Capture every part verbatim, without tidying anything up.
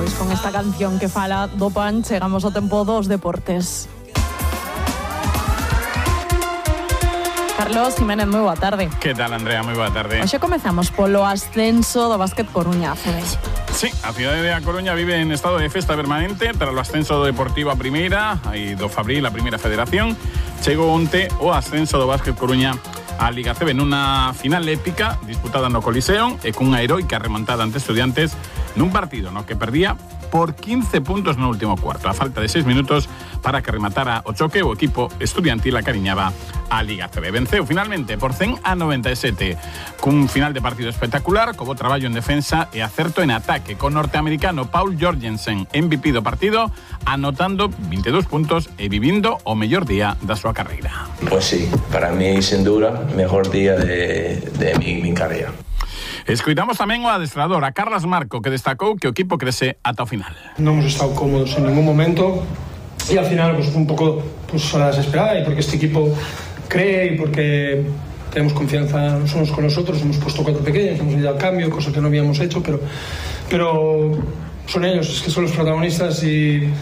Pois con esta canción que fala do pan chegamos ao tempo dos deportes. Carlos Jiménez, moi boa tarde. Que tal, Andrea? Moi boa tarde. Hoxe comezamos polo ascenso do Básquet Coruña A C B. Sí, a cidade de A Coruña vive en estado de festa permanente tras o ascenso do Deportivo a primeira e do Fabril a primeira federación. Chegou onte o ascenso do Básquet Coruña a Liga A C B nunha final épica disputada no Coliseo e cunha heroica remontada ante Estudiantes nun partido no que perdía por quince puntos no último cuarto. A falta de seis minutos para que rematara o choque, o equipo estudiantil acariñaba a Liga A C B. Venceu finalmente por cen a noventa e sete cun final de partido espectacular, co bo traballo en defensa e acerto en ataque, con norteamericano Paul Georgensen, M V P do partido, anotando veintidós puntos e vivindo o mellor día da súa carreira. Pues sí, para mí, sin duda, mejor día de, de mi, mi carreira. Escoitamos tamén o adestrador, a Carlos Marco, que destacou que o equipo crece ata o final. Non hemos estado cómodos en ningún momento y al final pues un poco pues a la desesperada, y porque este equipo cree y porque tenemos confianza los unos con los otros, hemos puesto cuatro pequeños, hemos ido al cambio, cosa que no habíamos hecho, pero, pero son ellos, es que son los protagonistas y,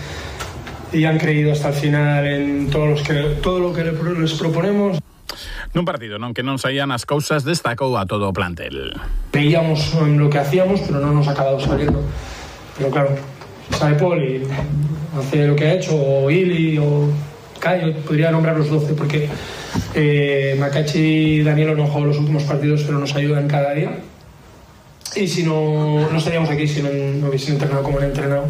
y han creído hasta el final en todos los que, todo lo que les proponemos. Nun partido non que non saían as cousas, destacou a todo o plantel. Veíamos en lo que hacíamos, pero no nos ha acabado saliendo. Pero claro, sabe Paul y hace lo que ha hecho, o Ili, o Caio, podría nombrar los doce, porque eh, Macachi y Danielo no han jugado los últimos partidos, pero nos ayudan cada día. Y si no, no estaríamos aquí si no, no hubiesen entrenado como han entrenado.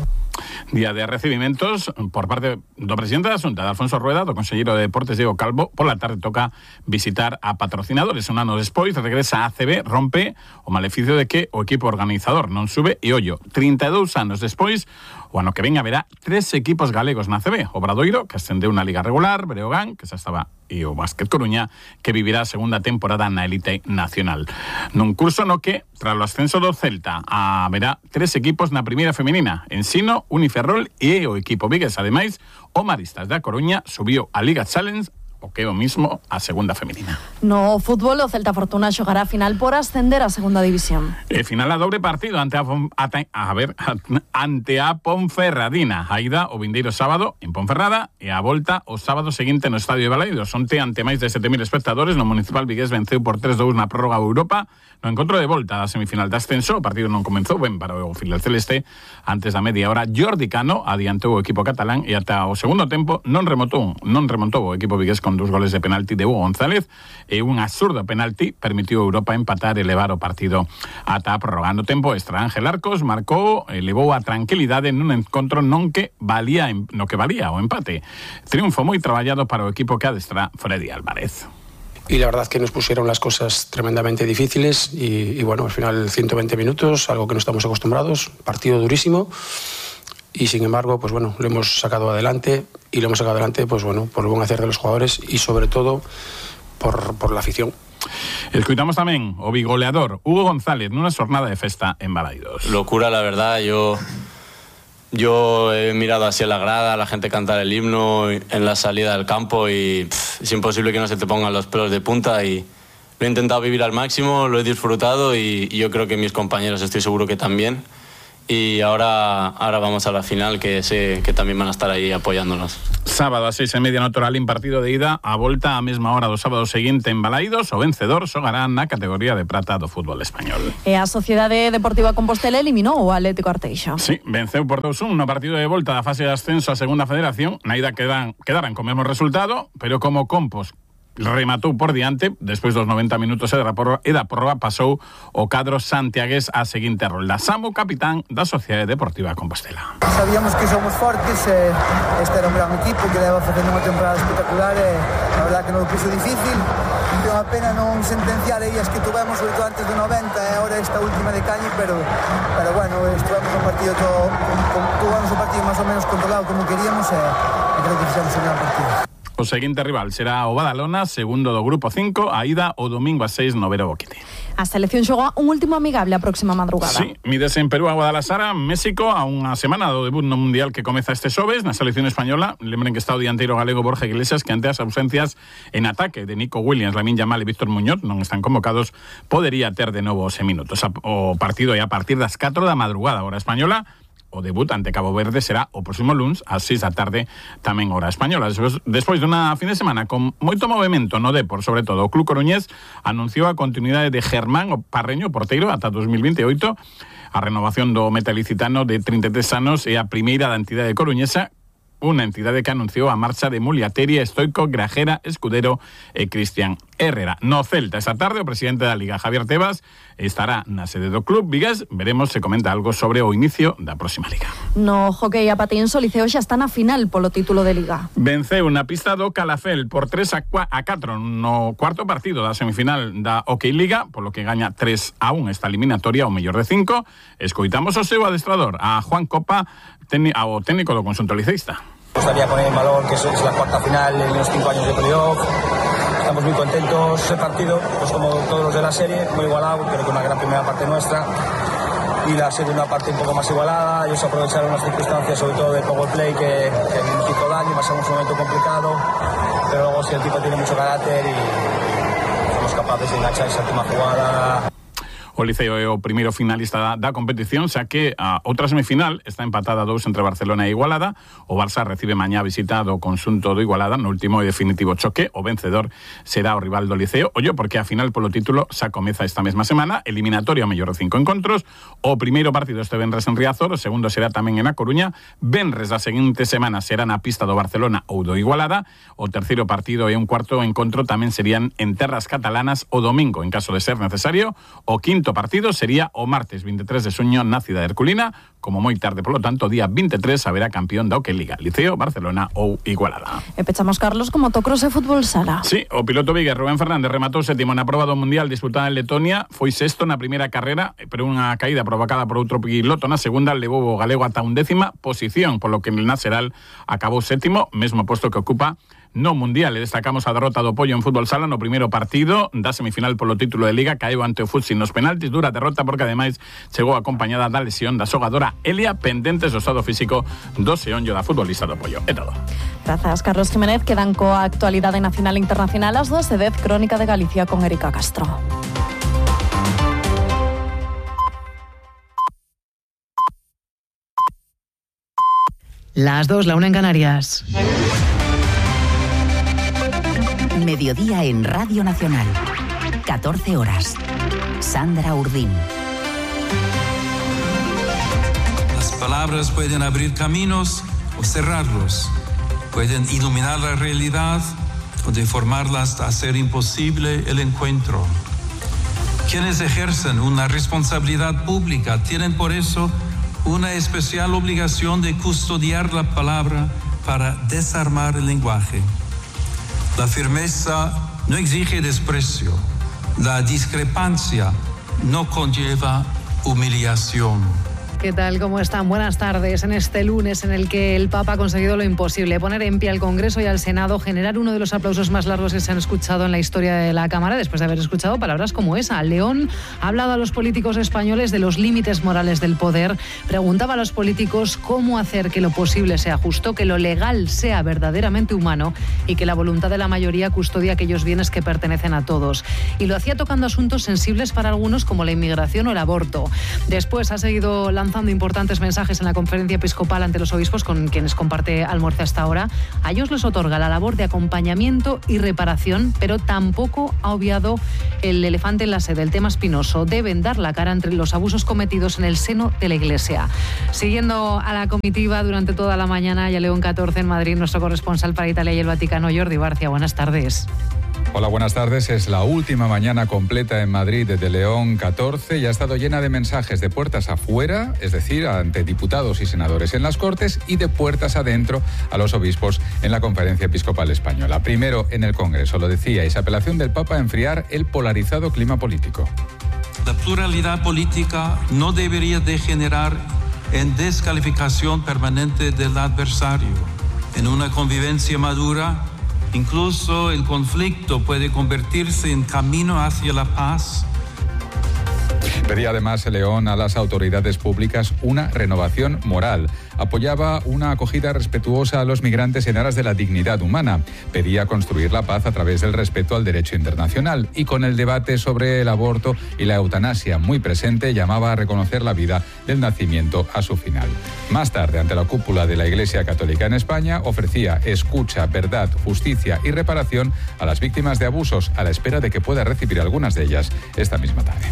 Día de recibimentos por parte do presidente da Xunta, de Alfonso Rueda, do conselleiro de Deportes, Diego Calvo. Por la tarde toca visitar a patrocinadores. Un ano despois regresa a A C B, rompe o maleficio de que o equipo organizador non sube e ollo, trinta e dous anos despois, o ano que ven haberá tres equipos galegos na A C B. Obradoiro, que ascendeu na Liga Regular, Breogán, que xa estaba, e o Básquet Coruña, que vivirá a segunda temporada na élite nacional. Nun curso no que, tras o ascenso do Celta, haberá tres equipos na primeira femenina, Ensino, Uniferrol e o equipo vigués. Ademais, o Maristas da Coruña subiu a Liga Challenge, o que é o mismo a segunda femenina. No fútbol, o Celta Fortuna xogará a final por ascender a segunda división. E final a dobre partido ante a, a, a ver ante a Ponferradina. A ida o vindeiro sábado en Ponferrada e a volta o sábado seguinte no Estadio de Balaidos. Onte ante máis de sete mil espectadores, no Municipal vigués venceu por tres a dous na prórroga Europa. No encontro de volta da semifinal de ascenso, o partido non comenzou ben para o filial celeste. Antes da media hora, Jordi Cano adiantou o equipo catalán e ata o segundo tempo non remontou, non remontou o equipo vigués con dos goles de penalti de Hugo González e un absurdo penalti permitiu a Europa empatar e levar o partido ata a prórroga. No tempo extra, Ángel Arcos marcou e levou a tranquilidade nun encontro non que valía no que valía o empate. Triunfo moi traballado para o equipo que adestra Freddy Álvarez. Y la verdad que nos pusieron las cosas tremendamente difíciles y, y bueno, al final ciento veinte minutos, algo que no estamos acostumbrados, partido durísimo y sin embargo, pues bueno, lo hemos sacado adelante y lo hemos sacado adelante, pues bueno, por el buen hacer de los jugadores y sobre todo por, por la afición. Escuitamos tamén o bigoleador Hugo González nunha xornada de festa en Balaidos. Locura, la verdad, yo... Yo he mirado así a la grada, a la gente cantar el himno en la salida del campo y pff, es imposible que no se te pongan los pelos de punta y lo he intentado vivir al máximo, lo he disfrutado y, y yo creo que mis compañeros estoy seguro que también. Y ahora, ahora vamos a la final, que sé que también van a estar ahí apoyándonos. Sábado a seis e media no Toralín, partido de ida, a volta a mesma hora do sábado seguinte en Balaidos. O vencedor xogará na categoría de prata do fútbol español. E a Sociedade Deportiva Compostela eliminou o Atlético Arteixo. Sí, venceu por dos a un no partido de volta da fase de ascenso a segunda federación. Na ida quedan, quedaran co mesmo resultado, pero como Compos rematou por diante, despois dos noventa minutos e da prórroga pasou o cadro santiagués a seguinte rolda. Samu, capitán da Sociedade Deportiva Compostela. Sabíamos que somos fortes, eh, este era un gran equipo que leva facendo unha temporada espectacular e eh, a verdade que non o puso difícil. É unha pena non sentenciar aí as que tuvemos, sobre todo antes do noventa e agora esta última de Cañi, pero, pero bueno, estuvemos un partido todo, tuvamos un partido máis ou menos controlado como queríamos e eh, creo que fixemos un gran partido. O seguinte rival será o Badalona, segundo do grupo cinco, a ida o domingo a seis no Vero Boquete. A selección xoga un último amigable a próxima madrugada. Sí, mides en Perú a Guadalajara, México, a unha semana do debut no Mundial que comeza este xoves na selección española. Lembren que está o dianteiro galego Borja Iglesias, que ante as ausencias en ataque de Nico Williams, Lamine Yamal e Víctor Muñoz non están convocados, podería ter de novo os minutos. O partido é a partir das catro da madrugada, hora española, o debut ante Cabo Verde será o próximo lunes ás seis da tarde, tamén hora española. Despois, despois dunha fin de semana con moito movimento no Depor, sobre todo o Club Coruñés anunciou a continuidade de Germán o Parreño, porteiro, ata dos mil veintioito. A renovación do metalicitano de trinta e tres anos é a primeira da entidade coruñesa, unha entidade que anunciou a marcha de Muliateri, Stoico, Grajera, Escudero e Cristian Herrera. No Celta, esta tarde, o presidente da Liga, Javier Tebas, estará na sede do club vigués. Veremos se comenta algo sobre o inicio da próxima Liga. No hockey a patins, o Liceo xa está na final polo título de Liga. Venceu na pista do Calafel por tres a catro no cuarto partido da semifinal da Hockey Liga, polo que gaña tres a un esta eliminatoria, o mellor de cinco. Escoitamos o seu adestrador, a Juan Copa, ao técnico do conxunto liceísta. Me gustaría poner en valor que es la cuarta final en los cinco años de playoff. Estamos muy contentos. Ese partido, pues como todos los de la serie, muy igualado, creo que una gran primera parte nuestra y la segunda parte un poco más igualada. Ellos aprovecharon las circunstancias, sobre todo de power play, que, que nos hizo daño, pasamos un momento complicado, pero luego si el tipo tiene mucho carácter y somos capaces de enganchar esa última jugada. O Liceo é o primeiro finalista da, da competición, xa que a outra semifinal está empatada a dous entre Barcelona e Igualada. O Barça recibe mañá a visita do conxunto do Igualada no último e definitivo choque. O vencedor será o rival do Liceo. Ollo, porque a final polo título xa comeza esta mesma semana, eliminatoria ao mellor de cinco encontros. O primeiro partido este venres en Riazor, o segundo será tamén en A Coruña. Venres da seguinte semana será na pista do Barcelona ou do Igualada. O terceiro partido e un cuarto encontro tamén serían en terras catalanas o domingo, en caso de ser necesario. O quinto partido sería o martes veintitrés de xuño na cidade herculina, como moi tarde, polo tanto, día veintitrés haberá campeón da Hockey Liga, Liceo, Barcelona ou Igualada. E pechamos, Carlos, como motocross e fútbol sala. Sí, o piloto vigués Rubén Fernández rematou sétimo na proba do Mundial disputada en Letonia, foi sexto na primeira carrera, pero unha caída provocada por outro piloto na segunda levou o galego ata undécima posición, polo que na Seral acabou sétimo, mesmo posto que ocupa no Mundial. E destacamos a derrota do Pollo en fútbol sala no primeiro partido da semifinal polo título de Liga, caeu ante o Futsi nos penaltis, dura derrota porque ademais chegou acompañada da lesión da xogadora Elia, pendentes do estado físico do seonllo da futbolista do Pollo. É todo. Grazas, Carlos Jiménez. Quedan coa actualidade nacional e internacional as dos e dez, Crónica de Galicia con Erika Castro. Las dos, la una en Canarias. Mediodía en Radio Nacional. catorce horas. Sandra Urdín. Las palabras pueden abrir caminos o cerrarlos. Pueden iluminar la realidad o deformarla hasta hacer imposible el encuentro. Quienes ejercen una responsabilidad pública tienen por eso una especial obligación de custodiar la palabra para desarmar el lenguaje. La firmeza no exige desprecio. La discrepancia no conlleva humillación. ¿Qué tal? ¿Cómo están? Buenas tardes. En este lunes en el que el Papa ha conseguido lo imposible, poner en pie al Congreso y al Senado, generar uno de los aplausos más largos que se han escuchado en la historia de la Cámara, después de haber escuchado palabras como esa. León ha hablado a los políticos españoles de los límites morales del poder, preguntaba a los políticos cómo hacer que lo posible sea justo, que lo legal sea verdaderamente humano y que la voluntad de la mayoría custodie aquellos bienes que pertenecen a todos. Y lo hacía tocando asuntos sensibles para algunos como la inmigración o el aborto. Después ha seguido lanzando importantes mensajes en la conferencia episcopal ante los obispos con quienes comparte almuerzo hasta ahora. A ellos les otorga la labor de acompañamiento y reparación, pero tampoco ha obviado el elefante en la sede, el tema espinoso. Deben dar la cara entre los abusos cometidos en el seno de la Iglesia. Siguiendo a la comitiva durante toda la mañana y a León catorce en Madrid, nuestro corresponsal para Italia y el Vaticano, Jordi Barcia. Buenas tardes. Hola, buenas tardes. Es la última mañana completa en Madrid de León catorce y ha estado llena de mensajes de puertas afuera, es decir, ante diputados y senadores en las Cortes, y de puertas adentro a los obispos en la Conferencia Episcopal Española. Primero en el Congreso, lo decíais, apelación del Papa a enfriar el polarizado clima político. La pluralidad política no debería degenerar en descalificación permanente del adversario. En una convivencia madura, incluso el conflicto puede convertirse en camino hacia la paz. Pedía además León a las autoridades públicas una renovación moral. Apoyaba una acogida respetuosa a los migrantes en aras de la dignidad humana. Pedía construir la paz a través del respeto al derecho internacional. Y con el debate sobre el aborto y la eutanasia muy presente, llamaba a reconocer la vida del nacimiento a su final. Más tarde, ante la cúpula de la Iglesia Católica en España, ofrecía escucha, verdad, justicia y reparación a las víctimas de abusos, a la espera de que pueda recibir algunas de ellas esta misma tarde.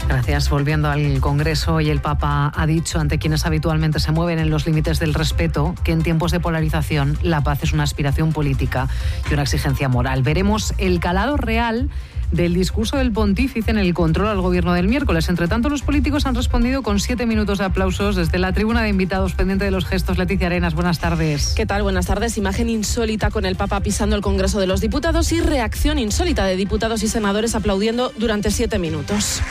Gracias. Volviendo al Congreso, y el Papa ha dicho ante quienes habitualmente se mueven en los límites del respeto que en tiempos de polarización la paz es una aspiración política y una exigencia moral. Veremos el calado real del discurso del pontífice en el control al gobierno del miércoles. Entre tanto, los políticos han respondido con siete minutos de aplausos desde la tribuna de invitados, pendiente de los gestos. Leticia Arenas, buenas tardes. ¿Qué tal? Buenas tardes. Imagen insólita con el Papa pisando el Congreso de los Diputados y reacción insólita de diputados y senadores aplaudiendo durante siete minutos.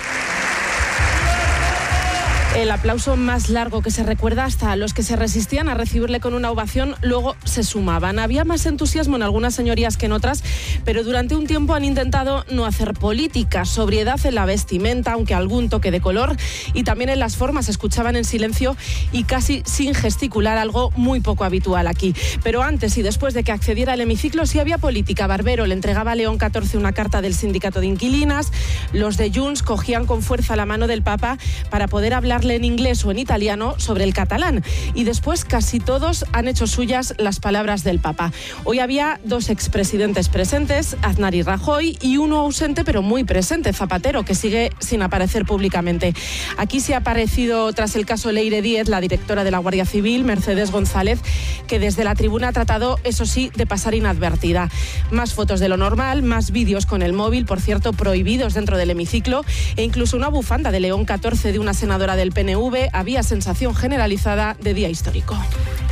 El aplauso más largo que se recuerda, hasta los que se resistían a recibirle con una ovación luego se sumaban. Había más entusiasmo en algunas señorías que en otras, pero durante un tiempo han intentado no hacer política, sobriedad en la vestimenta, aunque algún toque de color, y también en las formas. Escuchaban en silencio y casi sin gesticular, algo muy poco habitual aquí. Pero antes y después de que accediera al hemiciclo sí había política. Barbero le entregaba a León catorce una carta del sindicato de inquilinas. Los de Junts cogían con fuerza la mano del Papa para poder hablar en inglés o en italiano sobre el catalán, y después casi todos han hecho suyas las palabras del Papa. Hoy había dos expresidentes presentes, Aznar y Rajoy, y uno ausente pero muy presente, Zapatero, que sigue sin aparecer públicamente. Aquí se ha aparecido, tras el caso Leire Díez, la directora de la Guardia Civil, Mercedes González, que desde la tribuna ha tratado, eso sí, de pasar inadvertida. Más fotos de lo normal, más vídeos con el móvil, por cierto, prohibidos dentro del hemiciclo, e incluso una bufanda de León catorce de una senadora del P N V. Había sensación generalizada de día histórico.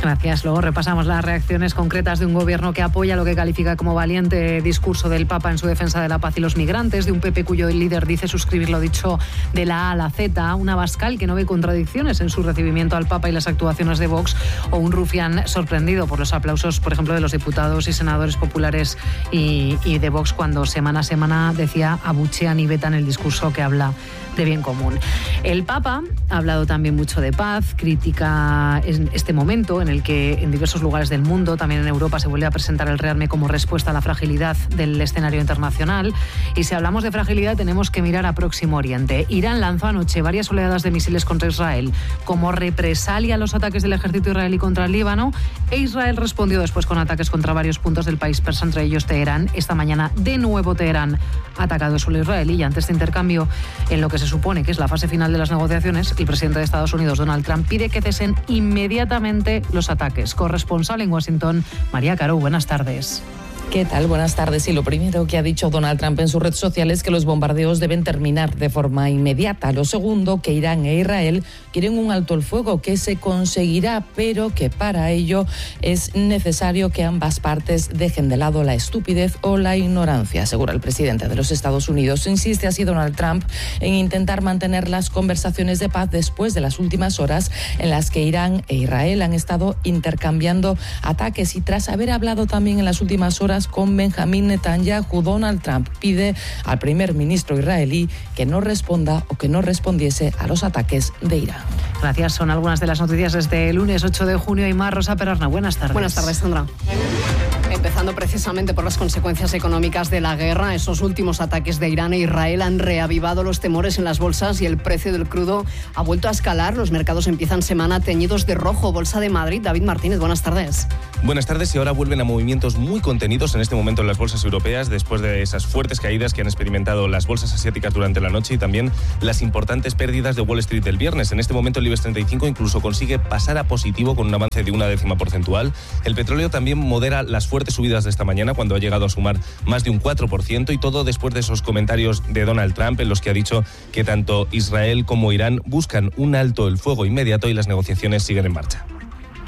Gracias. Luego repasamos las reacciones concretas de un gobierno que apoya lo que califica como valiente discurso del Papa en su defensa de la paz y los migrantes, de un P P cuyo líder dice suscribir lo dicho de la A a la Z, un Abascal que no ve contradicciones en su recibimiento al Papa y las actuaciones de Vox, o un Rufián sorprendido por los aplausos, por ejemplo, de los diputados y senadores populares y, y de Vox, cuando semana a semana, decía, abuchean y vetan el discurso que habla de bien común. El Papa ha hablado también mucho de paz, critica este momento en el que en diversos lugares del mundo, también en Europa, se vuelve a presentar el rearme como respuesta a la fragilidad del escenario internacional. Y si hablamos de fragilidad, tenemos que mirar a Próximo Oriente. Irán lanzó anoche varias oleadas de misiles contra Israel como represalia a los ataques del ejército israelí contra el Líbano, e Israel respondió después con ataques contra varios puntos del país persa, entre ellos Teherán. Esta mañana, de nuevo, Teherán ha atacado el suelo israelí, y ante este intercambio, en lo que se supone que es la fase final de las negociaciones, el presidente de Estados Unidos, Donald Trump, pide que cesen inmediatamente los ataques. Corresponsal en Washington, María Caro, buenas tardes. ¿Qué tal? Buenas tardes. Y lo primero que ha dicho Donald Trump en su red social es que los bombardeos deben terminar de forma inmediata. Lo segundo, que Irán e Israel quieren un alto el fuego que se conseguirá, pero que para ello es necesario que ambas partes dejen de lado la estupidez o la ignorancia, asegura el presidente de los Estados Unidos. Insiste así Donald Trump en intentar mantener las conversaciones de paz después de las últimas horas en las que Irán e Israel han estado intercambiando ataques, y tras haber hablado también en las últimas horas con Benjamín Netanyahu, Donald Trump pide al primer ministro israelí que no responda o que no respondiese a los ataques de Irán. Gracias. Son algunas de las noticias desde el lunes ocho de junio y más. Rosa Perarna, buenas tardes. Buenas tardes, Sandra. Empezando precisamente por las consecuencias económicas de la guerra, esos últimos ataques de Irán e Israel han reavivado los temores en las bolsas y el precio del crudo ha vuelto a escalar. Los mercados empiezan semana teñidos de rojo. Bolsa de Madrid, David Martínez, buenas tardes. Buenas tardes. Y ahora vuelven a movimientos muy contenidos en este momento en las bolsas europeas, después de esas fuertes caídas que han experimentado las bolsas asiáticas durante la noche y también las importantes pérdidas de Wall Street del viernes. En este momento el IBEX treinta y cinco incluso consigue pasar a positivo con un avance de una décima porcentual. El petróleo también modera las fuertes subidas de esta mañana, cuando ha llegado a sumar más de un cuatro por ciento, y todo después de esos comentarios de Donald Trump en los que ha dicho que tanto Israel como Irán buscan un alto el fuego inmediato y las negociaciones siguen en marcha.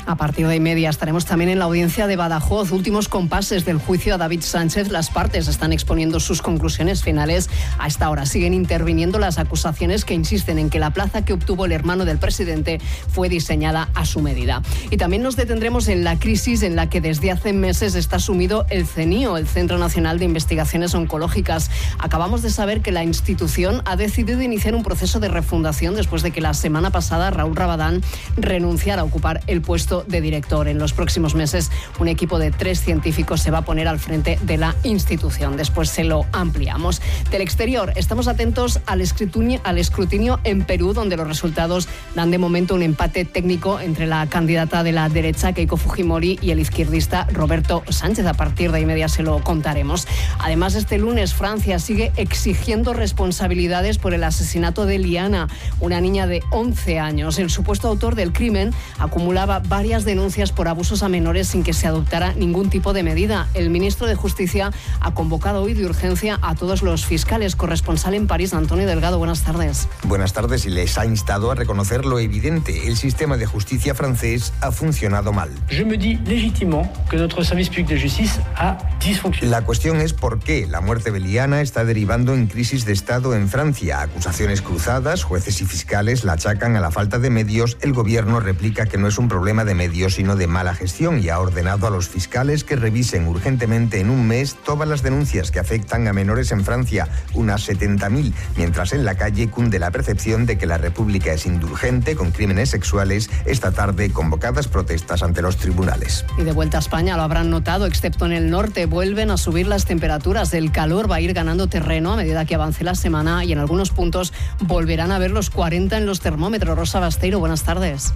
A partir de y media estaremos también en la audiencia de Badajoz. Últimos compases del juicio a David Sánchez. Las partes están exponiendo sus conclusiones finales. A esta hora siguen interviniendo las acusaciones que insisten en que la plaza que obtuvo el hermano del presidente fue diseñada a su medida. Y también nos detendremos en la crisis en la que desde hace meses está sumido el CENIO, el Centro Nacional de Investigaciones Oncológicas. Acabamos de saber que la institución ha decidido iniciar un proceso de refundación después de que la semana pasada Raúl Rabadán renunciara a ocupar el puesto de director. En los próximos meses, un equipo de tres científicos se va a poner al frente de la institución. Después se lo ampliamos. Del exterior, estamos atentos al escrutinio, al escrutinio en Perú, donde los resultados dan de momento un empate técnico entre la candidata de la derecha, Keiko Fujimori, y el izquierdista Roberto Sánchez. A partir de ahí media se lo contaremos. Además, este lunes Francia sigue exigiendo responsabilidades por el asesinato de Liana, una niña de once años. El supuesto autor del crimen acumulaba varias denuncias por abusos a menores sin que se adoptara ningún tipo de medida. El ministro de Justicia ha convocado hoy de urgencia a todos los fiscales. Corresponsal en París, Antonio Delgado, buenas tardes. Buenas tardes, y les ha instado a reconocer lo evidente. El sistema de justicia francés ha funcionado mal. Je me dis légitimement que notre service public de justice a dysfonctionné. La cuestión es por qué la muerte de Liana está derivando en crisis de Estado en Francia. Acusaciones cruzadas, jueces y fiscales la achacan a la falta de medios. El gobierno replica que no es un problema de medios, sino de mala gestión, y ha ordenado a los fiscales que revisen urgentemente en un mes todas las denuncias que afectan a menores en Francia, unas setenta mil, mientras en la calle cunde la percepción de que la República es indulgente con crímenes sexuales. Esta tarde, convocadas protestas ante los tribunales. Y de vuelta a España, lo habrán notado, excepto en el norte, vuelven a subir las temperaturas. El calor va a ir ganando terreno a medida que avance la semana, y en algunos puntos volverán a ver los cuarenta en los termómetros. Rosa Basteiro, buenas tardes.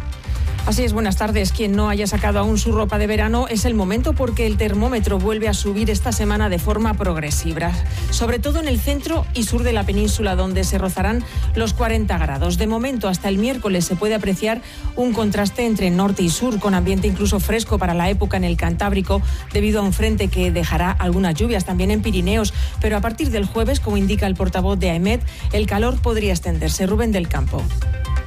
Así es, buenas tardes. Quien no haya sacado aún su ropa de verano, es el momento, porque el termómetro vuelve a subir esta semana de forma progresiva, sobre todo en el centro y sur de la península, donde se rozarán los cuarenta grados. De momento, hasta el miércoles se puede apreciar un contraste entre norte y sur, con ambiente incluso fresco para la época en el Cantábrico, debido a un frente que dejará algunas lluvias también en Pirineos. Pero a partir del jueves, como indica el portavoz de AEMET, el calor podría extenderse. Rubén del Campo.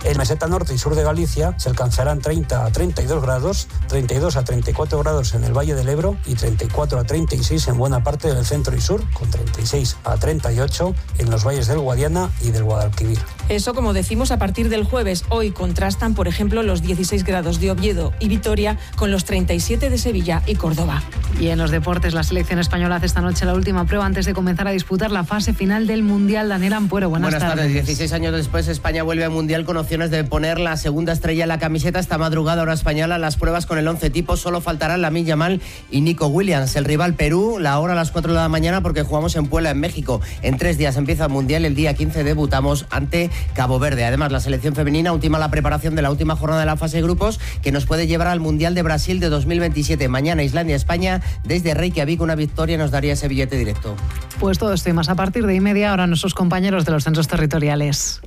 En meseta norte y sur de Galicia se alcanzarán treinta a treinta y dos grados, treinta y dos a treinta y cuatro grados en el Valle del Ebro y treinta y cuatro a treinta y seis en buena parte del centro y sur, con treinta y seis a treinta y ocho en los valles del Guadiana y del Guadalquivir. Eso, como decimos, a partir del jueves. Hoy contrastan, por ejemplo, los dieciséis grados de Oviedo y Vitoria con los treinta y siete de Sevilla y Córdoba. Y en los deportes, la selección española hace esta noche la última prueba antes de comenzar a disputar la fase final del Mundial. Daniel Ampuero, buenas, buenas tardes. tardes. dieciséis años después, España vuelve al Mundial con opciones de poner la segunda estrella en la camiseta. Esta madrugada, hora española, las pruebas con el once tipo. Solo faltarán Lamine Yamal y Nico Williams. El rival Perú, la hora a las cuatro de la mañana, porque jugamos en Puebla, en México. En tres días empieza el Mundial. El día quince debutamos ante Cabo Verde. Además, la selección femenina ultima la preparación de la última jornada de la fase de grupos, que nos puede llevar al Mundial de Brasil de dos mil veintisiete. Mañana, Islandia-España. Desde Reykjavik, una victoria nos daría ese billete directo. Pues todo esto y más a partir de y media. Ahora nuestros compañeros de los centros territoriales.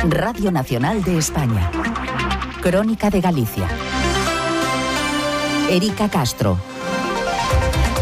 Radio Nacional de España. Crónica de Galicia. Erika Castro.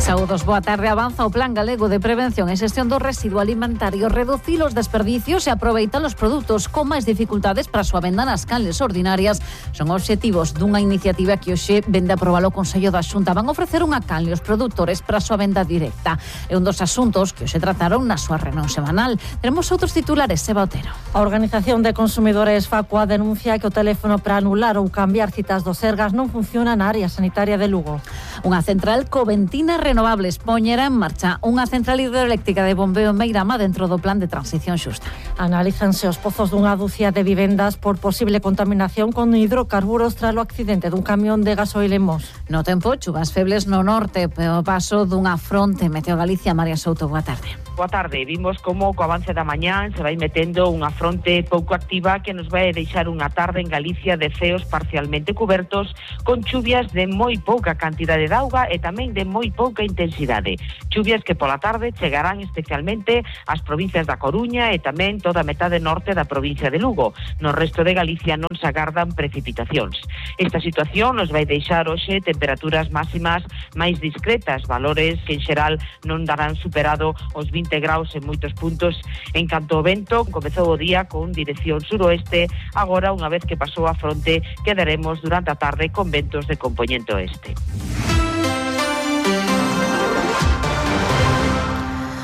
Saúdos, boa tarde. Avanza o Plan Galego de Prevención e Xestión do Residuo Alimentario. Reducir os desperdicios e aproveitar os produtos con máis dificultades para a súa venda nas canles ordinarias son obxectivos dunha iniciativa que hoxe vende a aprobar o Consello da Xunta. Van ofrecer unha canle aos produtores para a súa venda directa. É un dos asuntos que hoxe trataron na súa reunión semanal. Teremos outros titulares, Seba Otero. A Organización de Consumidores Facua denuncia que o teléfono para anular ou cambiar citas do Sergas non funciona na área sanitaria de Lugo. Unha central coventina renovables poñerá en marcha unha central hidroeléctrica de bombeo en Meirama dentro do plan de transición xusta. Analízanse os pozos dunha dúcia de vivendas por posible contaminación con hidrocarburos tras o accidente dun camión de gasoil en Mos. No tempo, chuvas febles no norte, pero paso dunha fronte. Meteo Galicia, María Souto, boa tarde. Boa tarde. Vimos como co avance da mañán se vai metendo unha fronte pouco activa que nos vai deixar unha tarde en Galicia de ceos parcialmente cubertos con chuvias de moi pouca cantidade de auga e tamén de moi pouca intensidade. Chuvias que pola tarde chegarán especialmente ás provincias da Coruña e tamén toda a metade norte da provincia de Lugo. No resto de Galicia non se agardan precipitacións. Esta situación nos vai deixar hoxe temperaturas máximas máis discretas, valores que en xeral non darán superado os vinte vinte graus en moitos puntos. En canto ao vento, comezou o día con dirección suroeste. Agora, unha vez que pasou a fronte, quedaremos durante a tarde con ventos de compoñente oeste.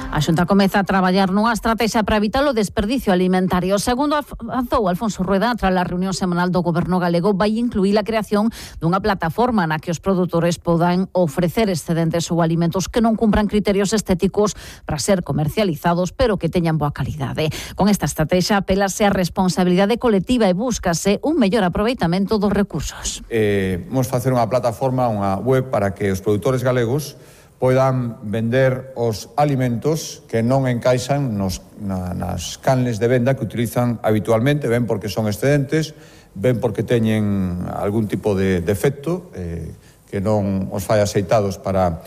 A Xunta comeza a traballar nunha estrategia para evitar o desperdicio alimentario. Segundo avanzou Alfonso Rueda, tras a reunión semanal do Goberno galego, vai incluir a creación dunha plataforma na que os produtores podan ofrecer excedentes ou alimentos que non cumpran criterios estéticos para ser comercializados, pero que teñan boa calidade. Con esta estrategia apelase a responsabilidade colectiva e búscase un mellor aproveitamento dos recursos. Eh, vamos facer unha plataforma, unha web para que os produtores galegos poidan vender os alimentos que non encaixan nos, na, nas canles de venda que utilizan habitualmente, ben porque son excedentes, ben porque teñen algún tipo de defecto eh, que non os fai aceitados para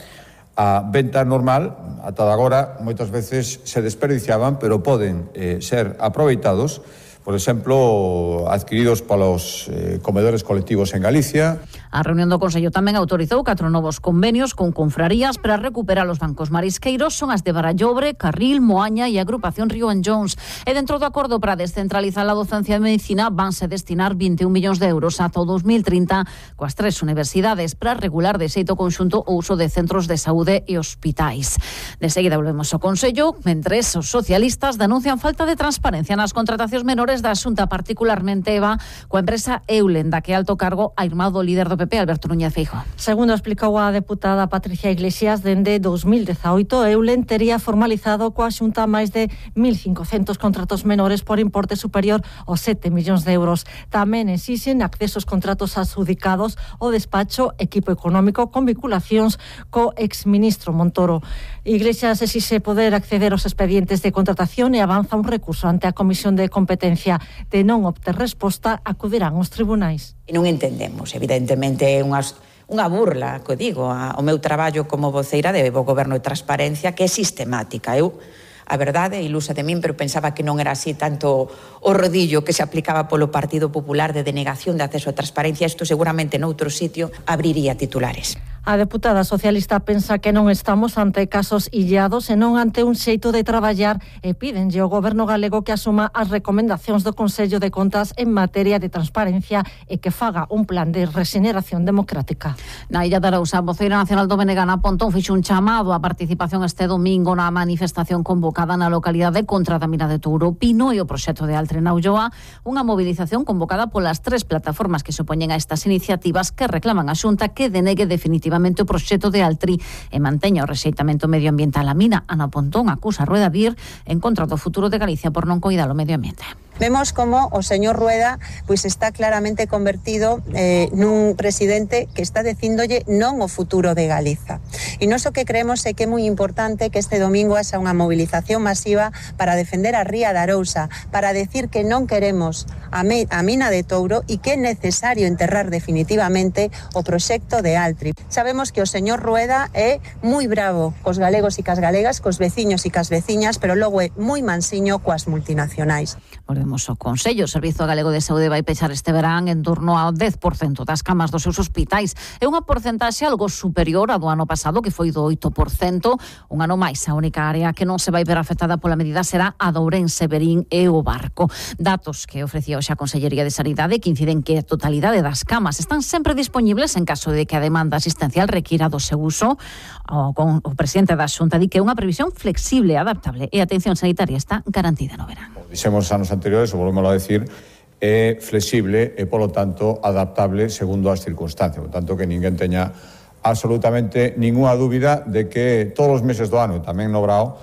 a venta normal. Ata agora moitas veces se desperdiciaban, pero poden eh, ser aproveitados, por exemplo, adquiridos polos eh, comedores colectivos en Galicia. A reunión do Consello tamén autorizou catro novos convenios con confrarías para recuperar os bancos marisqueiros. Son as de Barallobre, Carril, Moaña e Agrupación Río and Jones. E dentro do acordo para descentralizar a docencia de medicina vanse destinar vinte e un millóns de euros ata o dos mil trinta coas tres universidades para regular de xeito conxunto o uso de centros de saúde e hospitais. De seguida volvemos ao Consello, mentres os socialistas denuncian falta de transparencia nas contratacións menores da Xunta, particularmente Eva, coa empresa Eulen, da que alto cargo a irmá do líder do P P, Alberto Núñez Feijóo. Segundo explicou a deputada Patricia Iglesias, dende dos mil dezaoito, Eulen tería formalizado coa Xunta máis de mil cincocentos contratos menores por importe superior aos sete millóns de euros. Tamén exixen accesos contratos adxudicados ao despacho Equipo Económico con vinculacións co exministro Montoro. Iglesias exixe poder acceder aos expedientes de contratación e avanza un recurso ante a Comisión de Competencia. De non obter resposta, acudirán aos tribunais. E non entendemos, evidentemente, unhas unha burla, que digo, ao meu traballo como voceira de Bo Goberno e Transparencia, que é sistemática. Eu, a verdade, ilusa de min, pero pensaba que non era así tanto o rodillo que se aplicaba polo Partido Popular de denegación de acceso a transparencia. Isto seguramente noutro sitio abriría titulares. A deputada socialista pensa que non estamos ante casos illados e non ante un xeito de traballar e pídenlle ao Goberno galego que asuma as recomendacións do Consello de Contas en materia de transparencia e que faga un plan de regeneración democrática. Na Illa de Arousa, a voceira nacional do B N G Ana Pontón fixo un chamado á participación este domingo na manifestación convocada na localidade contra a mina de Touro Pino e o proxecto de Altre na Ulloa, unha movilización convocada polas tres plataformas que se opoñen a estas iniciativas que reclaman a Xunta que denegue definitivamente o proxecto de Altri e manteña o rexeitamento medioambiental á mina. Ana Pontón acusa a Rueda de ir en contra do futuro de Galicia por non coidar o medio ambiente. Vemos como o señor Rueda pois está claramente convertido eh, nun presidente que está dicíndolle non o futuro de Galiza. E nós o que creemos é que é moi importante que este domingo haxa unha movilización masiva para defender a ría de Arousa, para decir que non queremos a, me, a mina de Touro e que é necesario enterrar definitivamente o proxecto de Altri. Sabemos que o señor Rueda é moi bravo cos galegos e cas galegas, cos veciños e cas veciñas, pero logo é moi mansiño coas multinacionais. Volvemos ao Consello. O Servizo Galego de Saúde vai pechar este verán en torno ao dez por cento das camas dos seus hospitais. É unha porcentaxe algo superior a do ano pasado, que foi do oito por cento. Un ano máis, a única área que non se vai ver afectada pola medida será a de Ourense, Verín e o Barco. Datos que ofrecía hoxe a Consellería de Sanidade que inciden que a totalidade das camas están sempre disponibles en caso de que a demanda asistencial requira do seu uso. O, con, o presidente da Xunta di que é unha previsión flexible, adaptable e a atención sanitaria está garantida no verán. Dixemos anos anteriores, o volvemos a decir, é flexible e, polo tanto, adaptable segundo as circunstancias. Por tanto, que ninguén teña absolutamente ninguna dúbida de que todos os meses do ano, e tamén no Brao,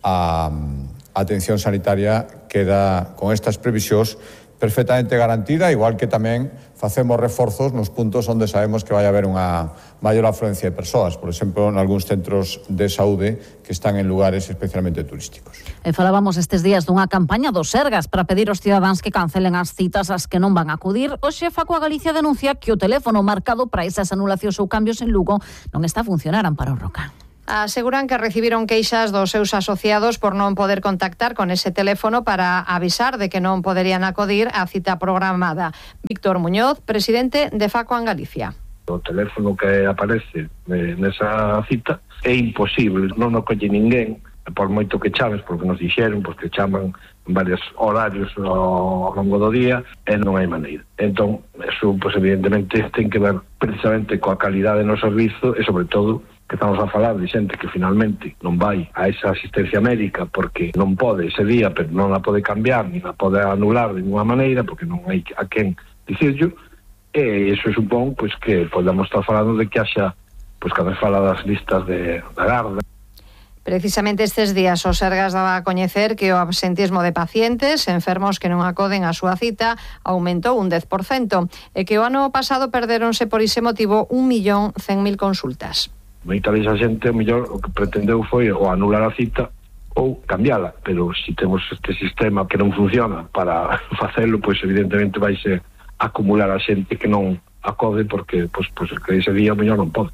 a, a atención sanitaria queda con estas previsións perfectamente garantida, igual que tamén facemos reforzos nos puntos onde sabemos que vai haber unha maior afluencia de persoas, por exemplo, en algúns centros de saúde que están en lugares especialmente turísticos. E falábamos estes días dunha campaña dos Sergas para pedir aos cidadáns que cancelen as citas ás que non van a acudir. O xefa coa Galicia denuncia que o teléfono marcado para esas anulacións ou cambios en Lugo non está a funcionar. Amparo Roca. Aseguran que recibiron queixas dos seus asociados por non poder contactar con ese teléfono para avisar de que non poderían acudir á cita programada. Víctor Muñoz, presidente de Facoan Galicia. O teléfono que aparece nesa cita é imposible, non o colle ninguén, por moito que chames, porque nos dixeron, porque chaman en varios horarios ao longo do día, e non hai maneira. Entón, eso, pues, evidentemente, ten que ver precisamente coa calidade no servizo e, sobre todo, que estamos a falar de xente que finalmente non vai a esa asistencia médica porque non pode ese día, pero non a pode cambiar, ni a pode anular de ninguna maneira, porque non hai a quen dicirlo, e iso supón, pues, que podemos estar falando de que haxa, pues, cada vez fala das listas de, da garda. Precisamente estes días o Sergas daba a coñecer que o absentismo de pacientes enfermos que non acoden á súa cita aumentou un dez por cento e que o ano pasado perderonse por ese motivo un millón cen mil consultas. Moita desa xente, o mellor, o que pretendeu foi o anular a cita ou cambiala, pero se si temos este sistema que non funciona para facelo, pois evidentemente vaise acumular a xente que non acode porque pois, pois, que ese día o mellor non pode.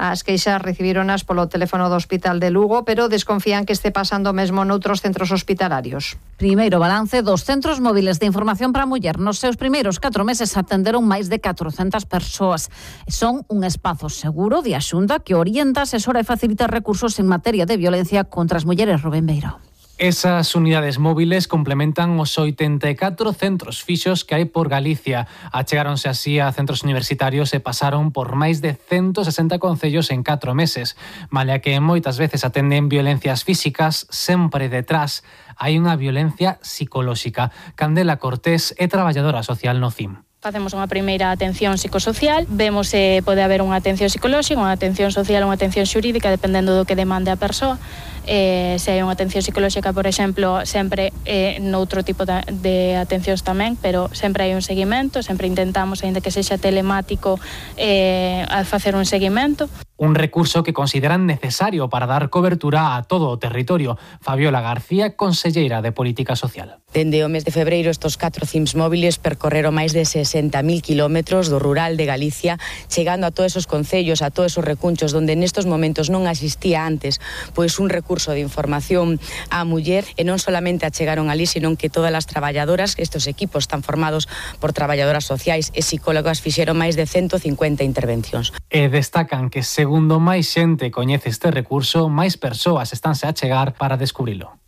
As queixas recibironas polo teléfono do Hospital de Lugo, pero desconfían que este pasando mesmo noutros centros hospitalarios. Primeiro balance dos centros móviles de información para a muller. Nos seus primeiros catro meses atenderon máis de catrocentas persoas. Son un espazo seguro de axunta que orienta, asesora e facilita recursos en materia de violencia contra as mulleres. Rubén Beiro. Esas unidades móviles complementan os oitenta e catro centros fixos que hai por Galicia. Achegáronse así a centros universitarios e pasaron por máis de ciento sesenta concellos en catro meses. Malia que moitas veces atenden violencias físicas, sempre detrás hai unha violencia psicolóxica. Candela Cortés é traballadora social no C I M. Facemos unha primeira atención psicosocial, vemos se pode haber unha atención psicolóxica, unha atención social, unha atención xurídica, dependendo do que demande a persoa. Eh, se hai unha atención psicolóxica, por exemplo, sempre eh, noutro tipo de, de atencións tamén, pero sempre hai un seguimento, sempre intentamos, aínda que sexa telemático, eh, a facer un seguimento. Un recurso que consideran necesario para dar cobertura a todo o territorio. Fabiola García, conselleira de Política Social. Dende o mes de febreiro, estos catro C I Ms móviles percorreron máis de sesenta mil kilómetros do rural de Galicia, chegando a todos esos concellos, a todos esos recunchos onde nestos momentos non existía antes pois un recurso de información á muller, e non solamente achegaron ali, senón que todas as traballadoras, estos equipos están formados por traballadoras sociais e psicólogas, fixeron máis de ciento cincuenta intervencións. E destacan que segundo máis xente coñece este recurso, máis persoas estánse a chegar para descubrilo.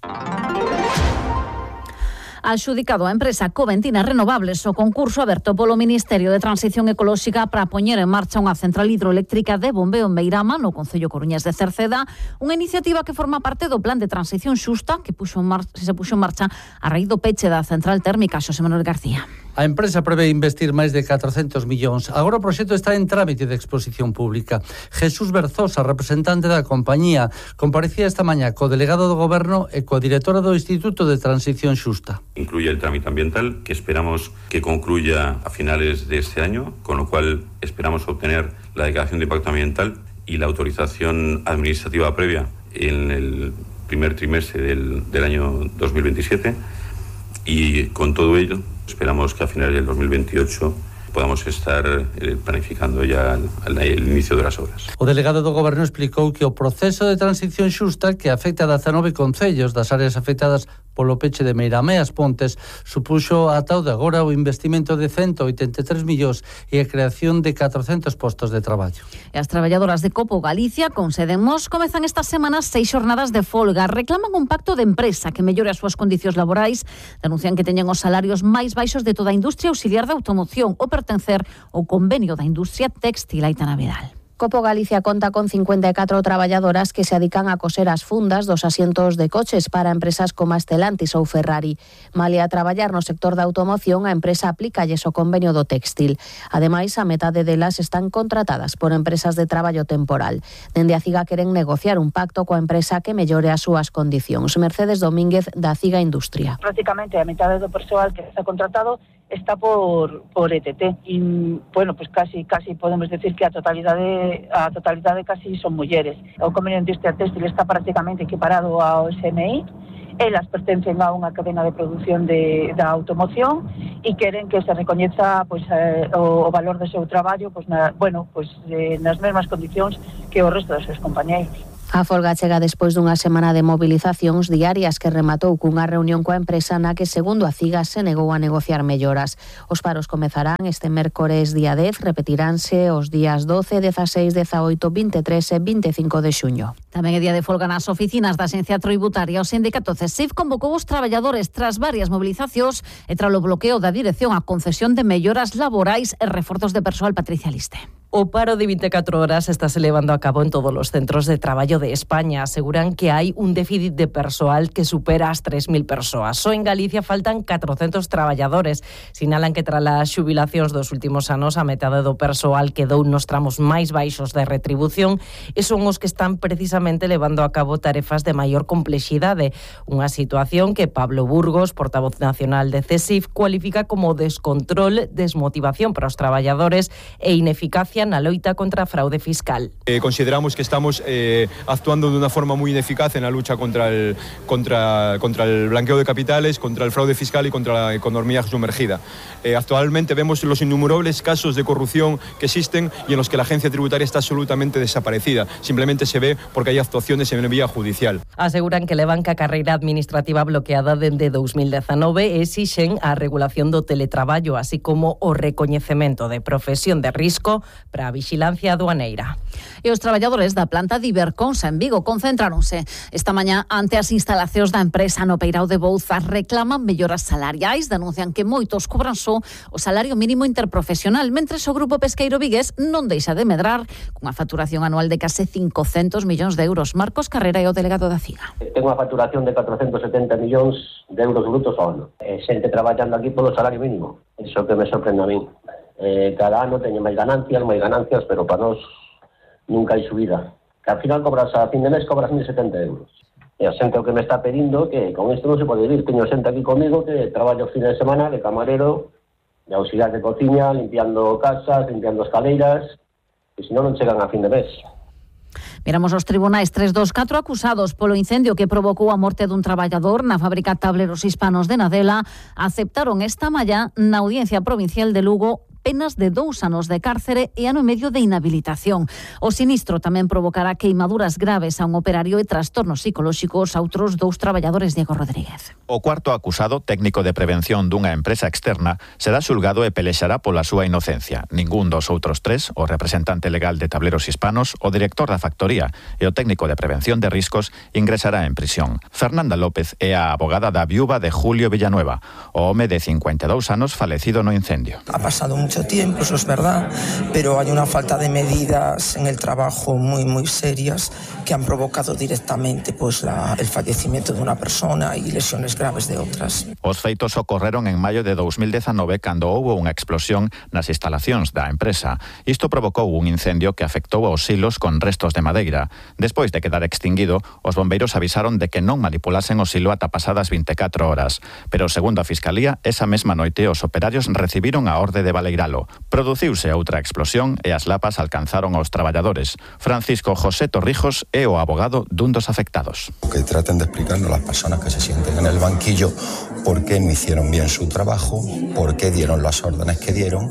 Adxudicado a empresa Coventina Renovables o concurso aberto polo Ministerio de Transición Ecolóxica para poñer en marcha unha central hidroeléctrica de bombeo en Meirama, no concello coruñés de Cerceda, unha iniciativa que forma parte do Plan de Transición Xusta que puxo en mar... se puxo en marcha a raíz do peche da central térmica. Xosé Manuel García. A empresa prevé investir máis de catrocentos millóns. Agora o proxecto está en trámite de exposición pública. Jesús Berzosa, representante da compañía, comparecía esta mañá co delegado do Goberno e coa directora do Instituto de Transición Xusta. Incluye el trámite ambiental, que esperamos que concluya a finales de este año, con lo cual esperamos obtener la declaración de impacto ambiental y la autorización administrativa previa en el primer trimestre del, del año dos mil veintisiete, y con todo ello esperamos que a finales del dos mil veintiocho podamos estar eh, planificando ya el, el inicio de las obras. O delegado do Goberno explicou que o proceso de transición xusta que afecta a dezanove concellos das áreas afectadas polo peche de Meirama e as Pontes supuxo ata o de agora o investimento de ciento oitenta e tres millóns e a creación de catrocentos postos de traballo. E as traballadoras de Copo Galicia, con sede en Mos, comezan estas semanas seis xornadas de folga. Reclaman un pacto de empresa que mellore as súas condicións laborais. Denuncian que teñen os salarios máis baixos de toda a industria auxiliar da automoción ou pertencer ao convenio da industria textil. Aitana Vidal. Copo Galicia conta con cincuenta e catro traballadoras que se adican a coser as fundas dos asientos de coches para empresas como Stellantis ou Ferrari. Malia a traballar no sector da automoción, a empresa aplícalles o convenio do textil. Ademais, a metade delas están contratadas por empresas de traballo temporal. Dende a CIGA queren negociar un pacto coa empresa que mellore as súas condicións. Mercedes Domínguez, da CIGA Industria. Prácticamente a metade do persoal que está contratado está por por E T T e, bueno, pues casi casi podemos decir que a totalidade a totalidade casi son mulleres. O convenio de industria textil está prácticamente equiparado ao S M I. Elas pertencen a unha cadena de produción de, da automoción e queren que se recoñeza pues, eh, o, o valor do seu traballo pues, na, bueno, pues, eh, nas mesmas condicións que o resto dos seus compañeiros. A folga chega despois dunha semana de movilizacións diarias que rematou cunha reunión coa empresa na que, segundo a CIGA, se negou a negociar melloras. Os paros comezarán este mércores día dez, repetiránse os días doce, dezaseis, dezaoito, vinte e tres e vinte e cinco de xuño. Tamén é día de folga nas oficinas da Axencia Tributaria. O sindicato CESIF convocou os traballadores tras varias movilizacións e tras o bloqueo da dirección a concesión de melloras laborais e reforzos de persoal. Patricia Liste. O paro de vinte e catro horas está se levando a cabo en todos os centros de traballo de España. Aseguran que hai un déficit de persoal que supera as tres mil persoas. Só en Galicia faltan catrocentos traballadores. Sinalan que tras as xubilacións dos últimos anos a metade do persoal quedou nos tramos máis baixos de retribución e son os que están precisamente levando a cabo tarefas de maior complexidade. Unha situación que Pablo Burgos, portavoz nacional de CESIF, cualifica como descontrol, desmotivación para os traballadores e ineficacia na loita contra a fraude fiscal. Eh, consideramos que estamos eh, actuando de unha forma moi ineficaz en la lucha contra el, contra, contra el blanqueo de capitales, contra el fraude fiscal y contra la economía sumergida. Eh, actualmente vemos los innumerables casos de corrupción que existen y en los que la agencia tributaria está absolutamente desaparecida. Simplemente se ve porque hay actuaciones en vía judicial. Aseguran que levan ca carreira administrativa bloqueada dende dos mil dezanove e exixen a regulación do teletraballo, así como o recoñecemento de profesión de risco para a vixilancia aduaneira. E os traballadores da planta de Iberconsa en Vigo concentráronse esta mañá ante as instalacións da empresa no Peirao de Bouzas. Reclaman melloras salariais, denuncian que moitos cobran só o salario mínimo interprofesional, mentres o grupo pesqueiro vigués non deixa de medrar cunha facturación anual de case cincocentos millóns de euros. Marcos Carrera é o delegado da CIGA. Ten unha facturación de catrocentos setenta millóns de euros brutos ao ano. E xente traballando aquí polo salario mínimo. Iso que me sorprende a min. Eh, cada ano teñen máis ganancias, máis ganancias, pero para nós nunca hai subida. Que ao final cobras a fin de mes, cobras mil setenta euros. E a xente o que me está pedindo que con isto non se pode vivir. Teño xente aquí comigo que traballo os fines de semana de camarero, de auxiliar de cociña, limpiando casas, limpiando escaleiras, e senón non chegan a fin de mes. Miramos os tribunais. Tres dos catro acusados polo incendio que provocou a morte dun traballador na fábrica Tableros Hispanos de Nadela aceptaron esta mañá na Audiencia Provincial de Lugo penas de dous anos de cárcere e ano e medio de inhabilitación. O sinistro tamén provocará queimaduras graves a un operario e trastornos psicolóxicos a outros dous traballadores. Diego Rodríguez. O cuarto acusado, técnico de prevención dunha empresa externa, será xulgado e pelexará pola súa inocencia. Ningún dos outros tres, o representante legal de Tableros Hispanos, o director da factoría e o técnico de prevención de riscos, ingresará en prisión. Fernanda López é a abogada da viúva de Julio Villanueva, o home de cincuenta e dous anos falecido no incendio. Ha pasado un mucho tiempo, eso es verdad, pero hay una falta de medidas en el trabajo muy muy serias que han provocado directamente pues la, el fallecimiento de una persona y lesiones graves de otras. Os feitos ocorreron en maio de dos mil dezanove cando houbo unha explosión nas instalacións da empresa. Isto provocou un incendio que afectou aos silos con restos de madeira. Despois de quedar extinguido, os bombeiros avisaron de que non manipulasen o silo ata pasadas vinte e catro horas. Pero, segundo a Fiscalía, esa mesma noite os operarios recibiron a orde de baleiralo. Produciuse outra explosión e as lapas alcanzaron aos traballadores. Francisco José Torrijos é o abogado dun dos afectados. Que traten de explicarnos las personas que se sienten en el banquillo por qué no hicieron bien su trabajo, por qué dieron las órdenes que dieron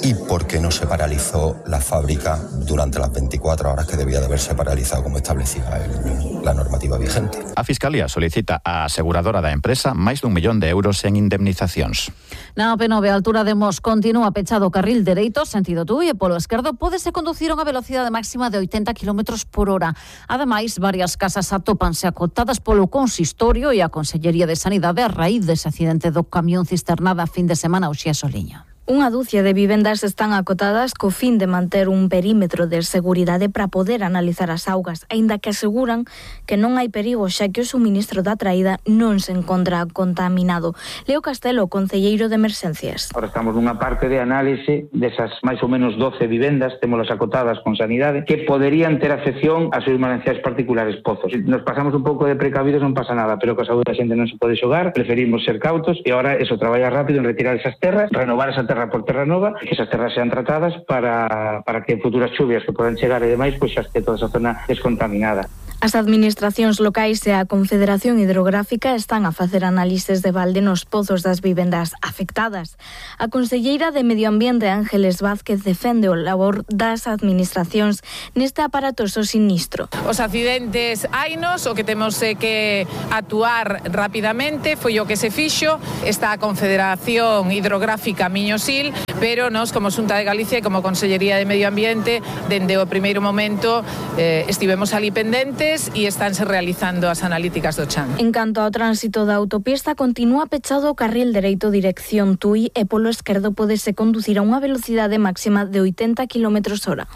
y por qué no se paralizó la fábrica durante las veinticuatro horas que debía de haberse paralizado como establecía el, la normativa vigente. A Fiscalía solicita á aseguradora da empresa máis dun millón de euros en indemnizacións. Na O P nove, a altura de Mos, continúa pechado o carril dereito, sentido Tui, e polo esquerdo pódese conducir a unha velocidade máxima de oitenta kilómetros por hora. Ademais, varias casas atópanse acotadas polo consistorio e a Consellería de Sanidade a raíz dese accidente do camión cisternada fin de semana ao Xía Soliña. Unha dúcia de vivendas están acotadas co fin de manter un perímetro de seguridade para poder analizar as augas, aínda que aseguran que non hai perigo xa que o suministro da traída non se encontra contaminado. Leo Castelo, concelleiro de Emerxencias. Ahora estamos nunha parte de análise desas máis ou menos doce vivendas, témolas acotadas con Sanidade, que poderían ter afección a seus mananciais particulares pozos. Se nos pasamos un pouco de precavidos non pasa nada, pero que a saúde da xente non se pode xogar, preferimos ser cautos e ahora eso, traballar rápido en retirar esas terras, renovar esa terra por terra nova, que esas terras sean tratadas para, para que futuras chuvias que podan chegar e demais, pois xa este toda esa zona descontaminada. As administracións locais e a Confederación Hidrográfica están a facer análises de balde nos pozos das vivendas afectadas. A conselleira de Medio Ambiente, Ángeles Vázquez, defende o labor das administracións neste aparatoso sinistro. Os accidentes hainos, o que temos é que actuar rapidamente, foi o que se fixo. Está a Confederación Hidrográfica Miño-Sil, pero nós, como Xunta de Galicia e como Consellería de Medio Ambiente, dende o primeiro momento eh, estivemos ali pendentes e estánse realizando as analíticas do chan. En canto ao tránsito da autopista, continúa pechado o carril dereito dirección Tui e polo esquerdo pódese conducir a unha velocidade máxima de oitenta kilómetros hora.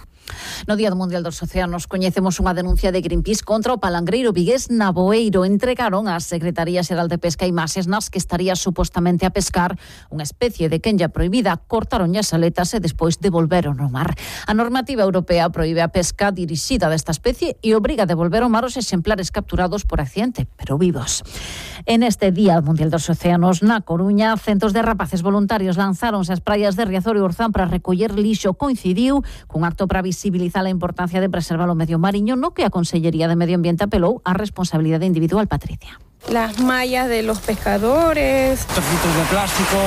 No Día Mundial dos Océanos coñecemos unha denuncia de Greenpeace contra o palangreiro vigués Naboeiro. Entregaron á Secretaría Xeral de Pesca imaxes nas que estaría supostamente a pescar unha especie de quenlla prohibida. Cortaron as aletas e despois devolveron ao mar. A normativa europea proíbe a pesca dirixida desta especie e obriga a devolver ao mar os exemplares capturados por accidente, pero vivos. En este Día Mundial dos Océanos, na Coruña, centos de rapaces voluntarios lanzáronse ás praias de Riazor e Orzán para recoller lixo. Coincidiu cun acto para visibilizar a importancia de preservar o medio mariño, no que a Consellería de Medio Ambiente apelou á responsabilidade individual. Patricia. Las mallas de los pescadores. Trocitos de plástico,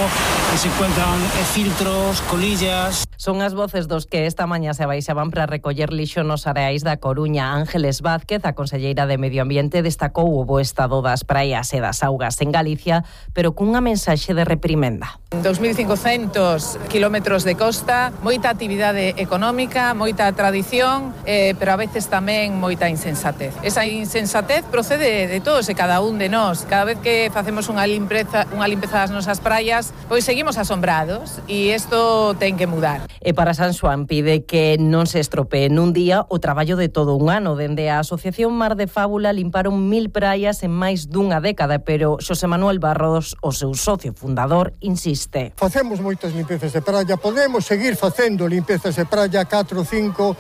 que se encuentran filtros, colillas. Son as voces dos que esta mañá se baixaban para recoller lixo nos areais da Coruña. Ángeles Vázquez, a conselleira de Medio Ambiente, destacou o bo estado das praias e das augas en Galicia, pero cunha mensaxe de reprimenda. dos mil cincocentos kilómetros de costa, moita actividade económica, moita tradición, eh, pero a veces tamén moita insensatez. Esa insensatez procede de todos e cada un de nós. Cada vez que facemos unha limpeza, unha limpeza das nosas praias, pois seguimos asombrados e isto ten que mudar. E para San Xoán pide que non se estropee nun día o traballo de todo un ano. Dende a Asociación Mar de Fábula limparon mil praias en máis dunha década, pero Xosé Manuel Barros, o seu socio fundador, insiste. Facemos moitas limpezas de praia, podemos seguir facendo limpezas de praia catro, cinco,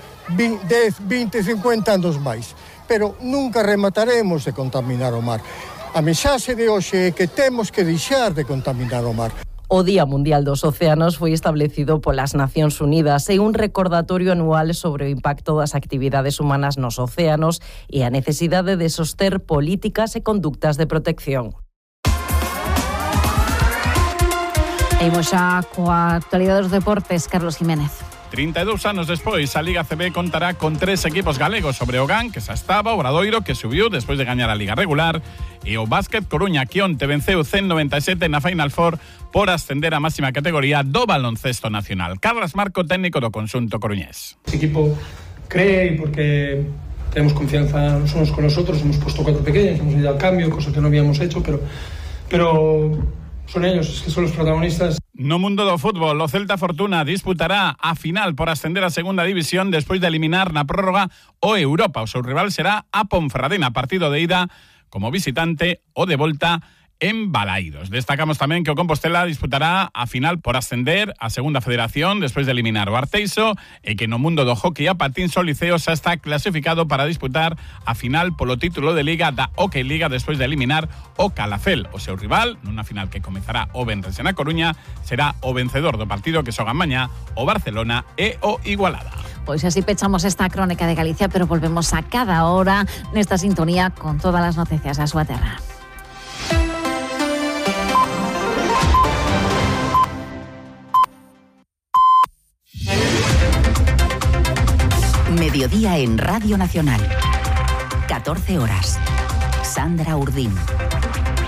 dez, vinte, cincuenta anos máis, pero nunca remataremos de contaminar o mar. A mensaxe de hoxe é que temos que deixar de contaminar o mar. O Día Mundial dos Océanos foi establecido polas Nacións Unidas e un recordatorio anual sobre o impacto das actividades humanas nos océanos e a necesidade de soster políticas e conductas de protección. E imos xa coa actualidade dos deportes, Carlos Jiménez. trinta e dous anos despois, a Liga C B contará con tres equipos galegos sobre o G A N, que xa estaba, o Obradoiro, que subiu despois de gañar a Liga regular, e o Básquet Coruña, que onte venceu cen noventa e sete na Final Four por ascender a máxima categoría do baloncesto nacional. Carlos Marco, técnico do conxunto coruñés. O equipo cree, porque tenemos confianza los unos con los otros, hemos puesto cuatro pequeños, hemos ido al cambio, cosa que no habíamos hecho, pero, pero son ellos, es que son los protagonistas. No mundo do fútbol, o Celta Fortuna disputará a final por ascender a segunda división despois de eliminar na prórroga o Europa. O seu rival será a Ponferradina, partido de ida como visitante o de volta en Balaídos. Destacamos tamén que o Compostela disputará a final por ascender a segunda federación despois de eliminar o Arteixo e que no mundo do hockey a patins o Liceo xa está clasificado para disputar a final polo título de Liga da Hockey Liga despois de eliminar o Calafel. O seu rival, nunha final que comezará o venres na Coruña, será o vencedor do partido que xogan mañá o Barcelona e o Igualada. Pois así pechamos esta crónica de Galicia, pero volvemos a cada hora nesta sintonía con todas as noticias da súa terra. Mediodía en Radio Nacional. catorce horas. Sandra Urdín.